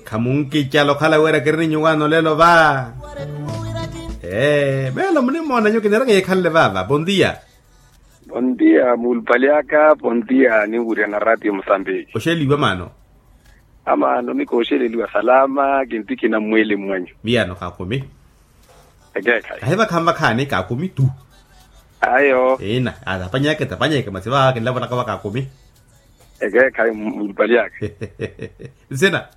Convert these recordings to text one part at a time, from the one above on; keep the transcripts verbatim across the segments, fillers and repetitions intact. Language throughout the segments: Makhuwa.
Khamunkicala okhala wira kiri ni nyuwaano lelo va. Ee meelo munimoona nyu kiniraka yekhanle vava bondia. Bondia muulupali aka bondia ninwirya na ratio musambiki. Oxeliwa maano. Amaano mikooxeleliwa salama kintikina mmweli mwanyu. Miyano kakumi. Ekeekhayi ahi vakhanvakhani kakumi tu. Ayo ina atapanyeke tapanyeke masi va kinlavolaka va kakumi. Ekeekhayi mulupali aka. Nsina.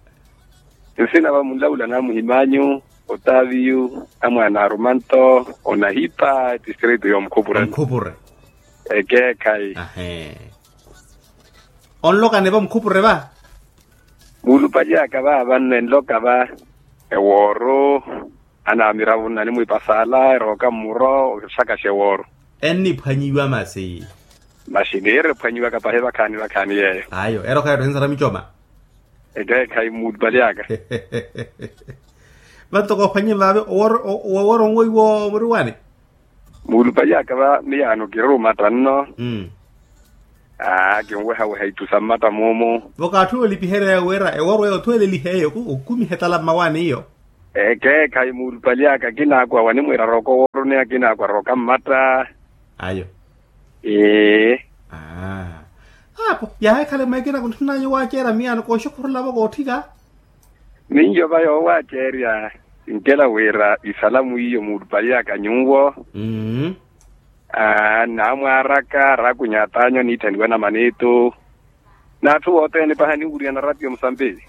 Nsina va munlaula na muhimanyu otaviyu amwana arumanto onahipa distrito yomukhupura. Omukhupura. Ekeekhayi ahe. Onlokani va mukhupure va. Muulupali aka va vanno enloka va ewooru anamiravo nnanimwiipasala erooka mmuro oxakaxa ewooru. Enniphwanyiwa masi. Masi nihirephwanyiwaka pahi vakhaani vakhaani yeeyo. Ayo erooka yeetthu ensara micoma. Ekeekhayi muulupali aka. Vantoko ophwanye vaavi owooru onwoiwo muriwani. Muulupali aka va miyaano kiri omatta nno. Aa kinwehaweha ittu sa mmatta moomo. Vokaatthu olipiherya wira ewooru eyo othweelelihe eyo okumiha etala mmawaani iyo. Ekeekhayi muulupali aka kinaakwa wanimwiira rooka owooruni akinaakwa rooka mmatta. Ayo. Ee. Aa. Apo yaheekhale mweekina kuntthunanyu waaceerya miyaano kooxukhurulavo kootthika. Minyo va yoowaceerya kinkela wira isalamu iyo muulupali aka nyuwo. Aa nnamwaaraka raakunyatanyu aniitthaniwa na maniitu. N'atthu wothene pahi aniwurya na ratio musambiki.